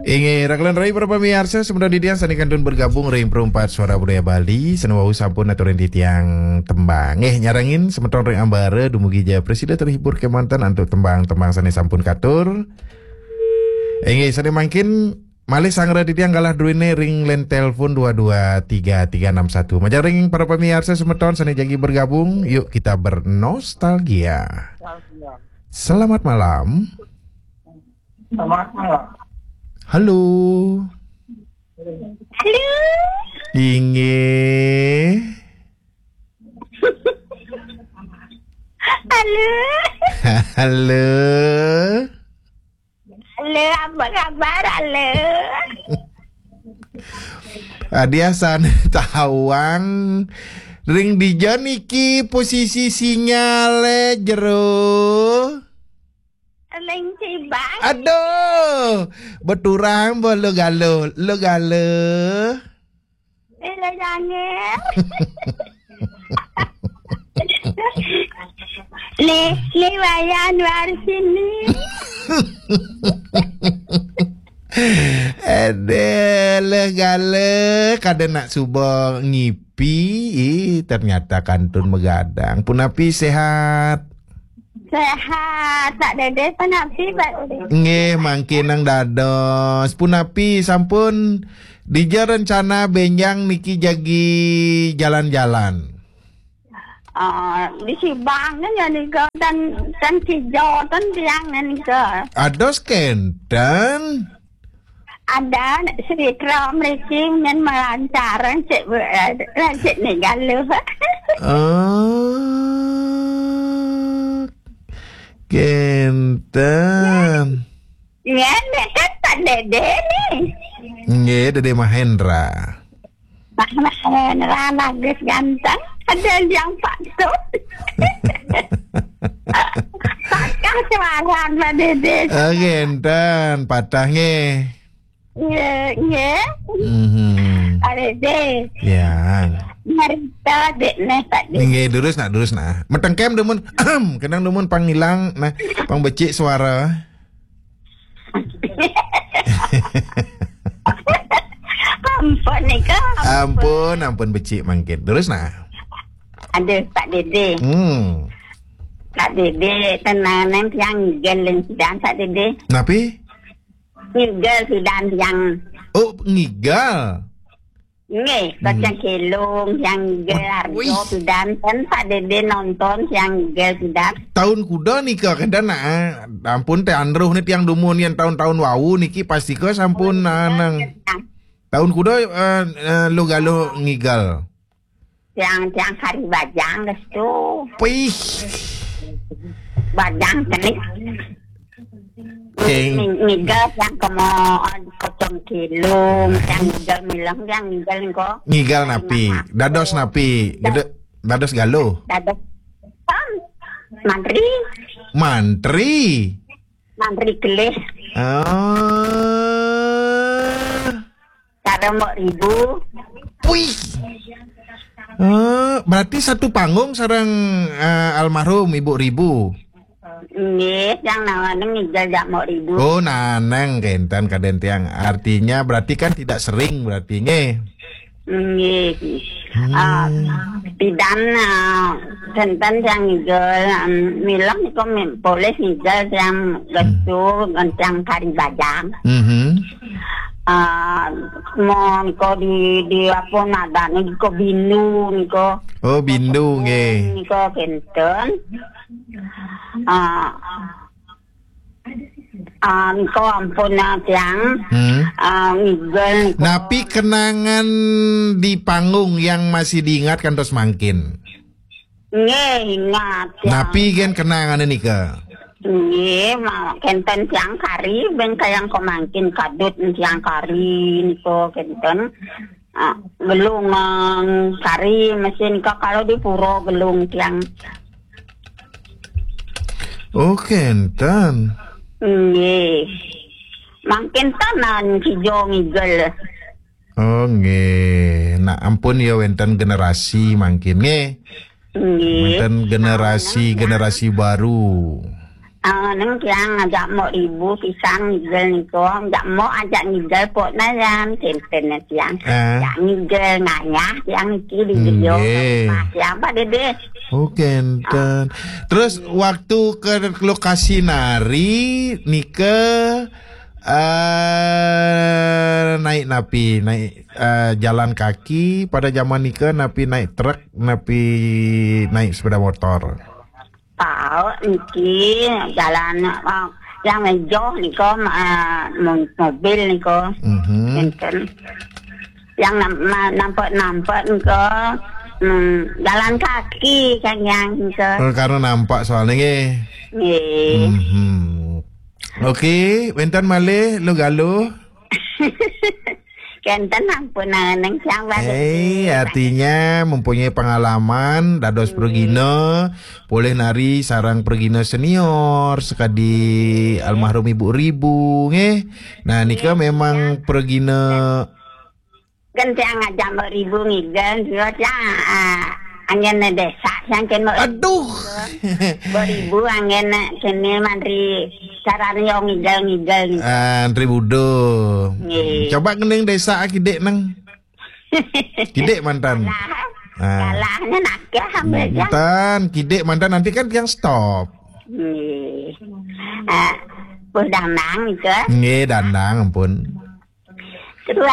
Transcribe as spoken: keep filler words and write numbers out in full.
Inggih, rakelan rai para pamiarsa, semeton titiang sané kantun bergabung ring Perumpat Suara Budaya Bali, sané wau sampun aturin titiang tembang. Nggih, nyarengin semeton ring ambara dumugi jaya prasida terhibur kémanten antuk tembang-tembang sané sampun katur. Inggih, sané mangkin malih sangra titiang galah druéné ring line telepon dua dua tiga tiga enam satu. Majeng ring para pamiarsa semeton sané jagi bergabung, yuk kita bernostalgia. Selamat malam. Selamat malam. Halo. Halo. Inggih. Halo. Halo. Halo, apa kabar, halo? Adiasan tawang ring dija niki posisi sinyalé jero. Ning Cibang. Aduh, beturang bo lo galo, lo galo. Ila jangé. Nih, nih Wayan Warsini. Aduh, lo galo, kada nak suba ngipi, ih, ternyata kantun magadang. Punapi sehat? Sehat, Pak Dede, punapi, Pak Dede? Nggih, mangkin nang dados. Punapi sampun dija rencana bénjang niki jagi jalan-jalan? Ah, di Sibang kan ya nika dan dan hijau kan tiang nika. Ados kénten. Ada Sri Kram mriki men melancar cek cek nih galuh. Oh, kénten. Ya, nek kan Pak Dede nih. Nggih, Dede Mahendra. Pak Mahendra bagus ganteng. Ada yang patut. Patah suara Pak Dede. Oh, kénten, patah nggih. Nggih, nggih. Mhm. Pak Dede. Ya. Marita dek neh Pak Dede. Nggih, durus nah, durus nah. Metengkem dumun, kenang dumun pang ngilang, nah, pang becik suara. Ampun nika. Ampun, ampun becik mangkin. Terus nah. Aduh, Pak Dede. Hmm. Pak Dede, tenang nang tiang ngigel sidan Pak Dede. Napi? Ngigel sidan tiang. Oh, ngigal. Nggih, hmm. Kacang kelung, yang ngigel arjo pidan, kan Pak Dede nonton yang ngigel pidan. Tahun kuda nika, kada nak, eh? Ampun, teh andruh nih tiang dumun yang tahun-tahun wau niki pasti ke sampun nanang. Tahun kuda, eh, eh, lo galo ngigal. Tiang, tiang hari bajang, gestu. Pih. Bajang kenik. King. Ngigal yang kemo kocong kilung, yang ngigal milang, yang ngigal engko. Ngigal napi? Dados napi? Gede, dados galuh. Dados. Mantri. Mantri. Mantri kelih. Ah. Sareng Mbok Ribu. Wih. Eh, berarti satu panggung sareng, eh, almarhum Ibu Ribu. Nggih, yang nawaning ngigal jak Mbok Ribu. Oh, nanang kenten kaden tiang. Artinya berarti kan tidak sering berarti nggih. Nggih. Hmm. Ah, pidan, ah, kenten yang ngigal, um, milang niku mi-, polih ngigal yang gesu, yang kari bajang. Mhm. Ah, mo niko di, di apa nadane niko bindu niko. Oh, bindu nggih. Niko kenten. Ah, ah, niko ampun, ah, tiang. Hmm. Ah, ngigel niko. Napi kenangan di panggung yang masih diingat kantos mangkin? Nggih, ingat, ya. Napi gen kenangane nika? Nggih, ma-, kenten tiang kari, ben kayang ko mangkin kadut tiang kari niko kenten. Ah, gelung, ah, kari mesin ka kalau di pura gelung tiang. Oh, kenten. Nggih. Mangkin tanan kijo ngigel. Oh, nggih. Nah, ampun ya wenten generasi mangkin nggih. Nggih. Wenten generasi, generasi baru. Ah, neng tiang ajak mok ribu pisang ngigel niko, ajak mok ajak ngigel pok na yan, tenten tiang. Ah. Ajak ngigel ngayah tiang niki di gedio Nggih. Rumah tiang, Pak Dede. Oh, kenten. Terus waktu ke lokasi nari nika, eh, naik napi? Naik, eh, jalan kaki pada zaman nika, napi naik truk, napi naik sepeda motor? Tahu niki jalan, oh, yang mejoh niko, eh, mo-, mobil niko. Mhm. Enten. Yang nam-, ma-, nampak-nampak niko, hmm, jalan kaki kan yang niko. Oh, karena nampak soalnya nggih. Nggih. Mhm. Okey, wenten malih lu galuh. Kenten ampun neng siang balik. Eh, artinya mempunyai pengalaman dados pragina, boleh nari sareng pragina senior sekadi almarhum Ibu Ribu nggih. Nah, nika memang pragina Kan tiang ajak Mbok Ribu ngigel, dia tiang, ah, anggen desa, tiang ken Mbok Aduh. Mbok Ribu anggen kene mantri carane yo ngigel-ngigel ni. Ah, antri budo. Nggih. Coba ngening desa kidik neng. Kidik mantan. Kalah. Ah. Kalahnya nakeh sampai tiang. Mantan, kidik mantan nanti kan tiang stop. Nggih. Ah, pun dandang itu. Nggih, dandang ampun. Terus